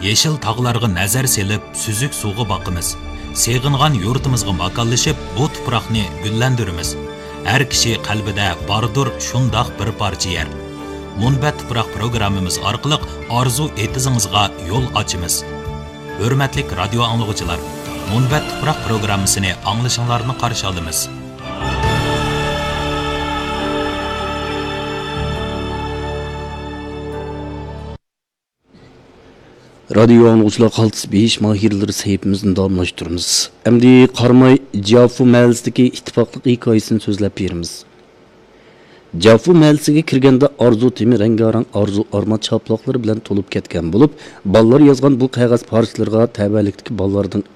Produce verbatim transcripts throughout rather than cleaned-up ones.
يېشىل تاغلارغا نەزەر سېلىپ، سۈزۈك سۇغا باقىمىز. سېغىنغان يۇرتىمىزغا ماكانلىشىپ، بۇ تۇپراقنى گۈللەندۈرىمىز. ھەر كىشى قەلبىدە باردۇر شۇنداق بىر پارچە يەر. مۇنبەت تۇپراق پروگراممىمىز ئارقىلىق ئارزۇ ئېتىزىڭىزغا يول ئاچىمىز. ھۆرمەتلىك رادىيو ئاڭلىغۇچىلار، مۇنبەت تۇپراق پروگراممىسىنى ئاڭلىشىڭلارنى قارشى ئالىمىز. رادىيو ئاڭلىغۇچىلار، قالتىس بېيىش ماھىرلىرى سەھىپىمىزنى داۋاملاشتۇرىمىز. ئەمدى قاراماي جيافۇ مەھەللىسىدىكى ئىتتىپاقلىق ھېكايىسىنى سۆزلەپ بېرىمىز. جيافۇ مەھەللىسىگە كىرگەندە ئارزۇ تېمى رەڭگارەڭ ئارزۇ ئارمان چاپلاقلىرى بىلەن تولۇپ كەتكەن بولۇپ، بالىلار يازغان بۇ قەغەز پارچىلىرىغا تەۋەلىكتىكى بالىلارنىڭ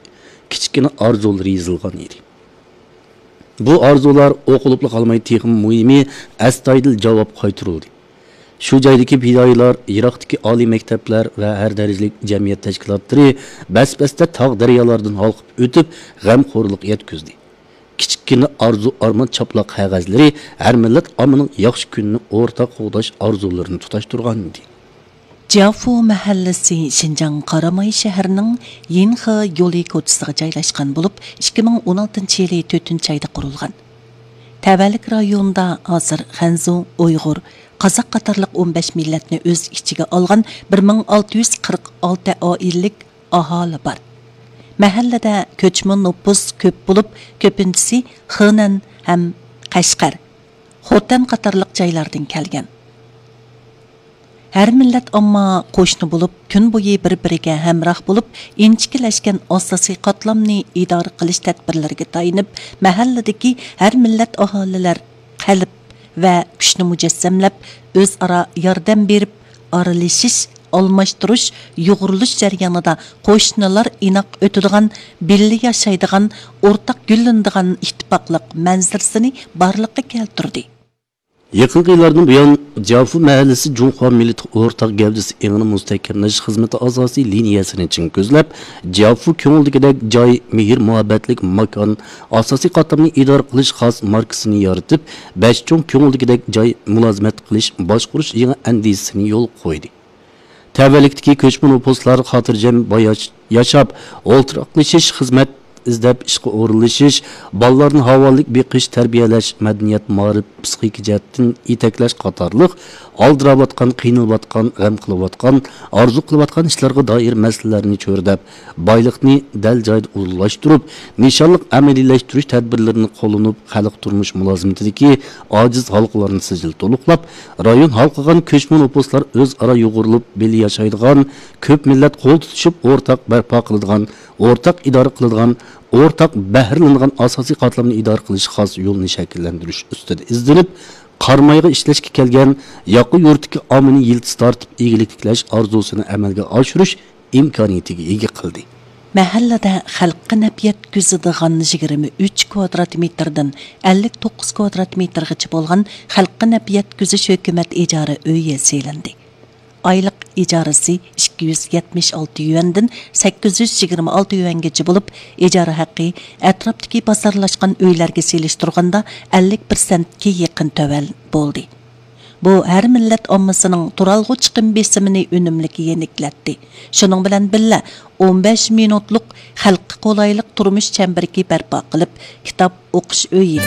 كىچىككىنە ئارزۇلىرى يېزىلغان ئىدى. بۇ ئارزۇلار ئوقۇلۇپلا قالماي، تېخىمۇ مۇھىمى، ئەستايىدىل جاۋاب قايتۇرۇلدى. شۇ جايدىكى پىدائىيلار، يىراقتىكى ئالىي مەكتەپلەر ۋە ھەر دەرىجىلىك جەمئىيەت تەشكىلاتلىرى بەس-بەستە تاغ-دەريالاردىن ھالقىپ ئۆتۈپ، غەمخورلۇق يەتكۈزدى. كىچىككىنە ئارزۇ-ئارمان چاپلاق قەغەزلىرى ھەر مىللەت ئاممىنىڭ ياخشى كۈنىنى ئورتاق قوغداش ئارزۇلىرىنى تۇتاشتۇرغانىدى. جيافۇ مەھەللىسى شىنجاڭ قاراماي شەھىرىنىڭ يىنخې يولى كوچىسىغا جايلاشقان بولۇپ، ئىككى مىڭ ئون ئالتىنچى يىلى تۆتىنچى ئايدا قۇرۇلغان. تەۋەلىك رايونىدا ھازىر خەنزۇ، ئۇيغۇر، قازاق قاتارلىق ئون بەش مىللەتنى ئۆز ئىچىگە ئالغان بىر مىڭ ئالتە يۈز قىرىق ئالتە ئائىلىلىك ئاھالە بار. مەھەللىدە كۆچمە نوپۇس كۆپ بولۇپ، كۆپىنچىسى خېنەن ھەم قەشقەر، خوتەن قاتارلىق جايلاردىن كەلگەن. ھەر مىللەت ئامما قوشنا بولۇپ، كۈن بويى بىر-بىرىگە ھەمراھ بولۇپ، ئىنچىكىلەشكەن ئاساسىي قاتلامنى ئىدارە قىلىش تەدبىرلىرىگە تايىنىپ، مەھەللىدىكى ھەر مىللەت ئاھالىلەر قەلب ۋە كۈچنى مۇجەسسەملەپ، ئۆزئارا ياردەم بېرىپ، ئارىلىشىش، ئالماشتۇرۇش، يۇغۇرۇلۇش جەريانىدا قوشنىلار ئىناق ئۆتىدىغان، بىللە ياشايدىغان، ئورتاق گۈللىنىدىغان ئىتتىپاقلىق مەنزىرىسىنى بارلىققا كەلتۈردى. يېقىنقى يىلاردىن بۇيان، جيافۇ مەھەللىسى جۇڭخۇا مىللىتى ئورتاق گەۋدىسى ئېڭىنى مۇستەھكەملەش خىزمىتى ئاساسىي لىنىيەسىنى چىڭ كۆزلەپ، جيافۇ كۆڭۈلدىكىدەك جاي، مېھىر-مۇھەببەتلىك ماكان، ئاساسىي قاتلامنى ئىدارە قىلىش خاس ماركىسىنى يارىتىپ، بەش چوڭ كۆڭۈلدىكىدەك جاي مۇلازىمەت قىلىش، باشقۇرۇش يېڭى ئەندىزىسىنى يولغا قويدى. تەۋەلىكتىكى كۆچمە نوپۇسلار خاتىرجەم باياش-، ياشاپ، ئولتۇراقلىشىش، خىزمەت ئىزدەپ ئىشقا ئورۇنلىشىش، بالىلارنى ھاۋالىك بېقىش، تەربىيەلەش، مەدەنىيەت، مائارىپ، پسىخىكا جەھەتتىن يېتەكلەش قاتارلىق ئالدىراۋاتقان، قىينىلىۋاتقان، غەم قىلىۋاتقان، ئارزۇ قىلىۋاتقان ئىشلارغا دائىر مەسىلىلەرنى چۆرىدەپ، بايلىقنى دەل جايىدا ئۇلۇغلاشتۇرۇپ، نىشانلىق ئەمەلىيلەشتۈرۈش تەدبىرلىرىنى قوللىنىپ، خەلق تۇرمۇش مۇلازىمىتىدىكى ئاجىز ھالقىلارنى سىجىل تولۇقلاپ، رايون ھالقىغان كۆچمە نوپۇسلار ئۆزئارا يۇغۇرۇلۇپ، بىللە ياشايدىغان، كۆپ مىللەت قول تۇتۇشۇپ ئورتاق بەرپا قىلىدىغان، ئورتاق ئىدارە قىلىدىغان، ئورتاق بەھرىلىنىدىغان ئاساسىي قاتلامنى ئىدارە قىلىش خاس يولىنى شەكىللەندۈرۈش ئۈستىدە ئىزدىنىپ، قارامايغا ئىشلەشكە كەلگەن ياقا يۇرتتىكى ئاممىنى يىلتىز تارتىپ ئىگىلىك تىكلەش ئارزۇسىنى ئەمەلگە ئاشۇرۇش ئىمكانىيىتىگە ئىگە قىلدى. مەھەللىدە خەلققە نەپ يەتكۈزىدىغان يىگىرمە ئۈچ كۋادرات مېتىردىن ئەللىك توققۇز كۋادرات مېتىرغىچە بولغان خەلققە نەپ يەتكۈزۈش ھۆكۈمەت ئىجارە ئۆيى سېلىندى. ئايلىق ئىجارىسى ئىككى يۈز يەتمىش ئالتە يۈەندىن سەككىز يۈز يىگىرمە ئالتە يۈەنگىچە بولۇپ، ئىجارە ھەققى ئەتراپتىكى بازارلاشقان ئۆيلەرگە سېلىشتۇرغاندا ئەللىك پىرسەنتكە يېقىن تۆۋەن بولدى. بۇ ھەر مىللەت ئاممىسىنىڭ تۇرالغۇ چىقىم بېسىمىنى ئۈنۈملۈك يېنىكلەتتى. شۇنىڭ بىلەن بىللە، ئون بەش مىنۇتلۇق خەلققە قولايلىق تۇرمۇش چەمبىرىكى بەرپا قىلىپ، كىتاب ئوقۇش ئۆيى،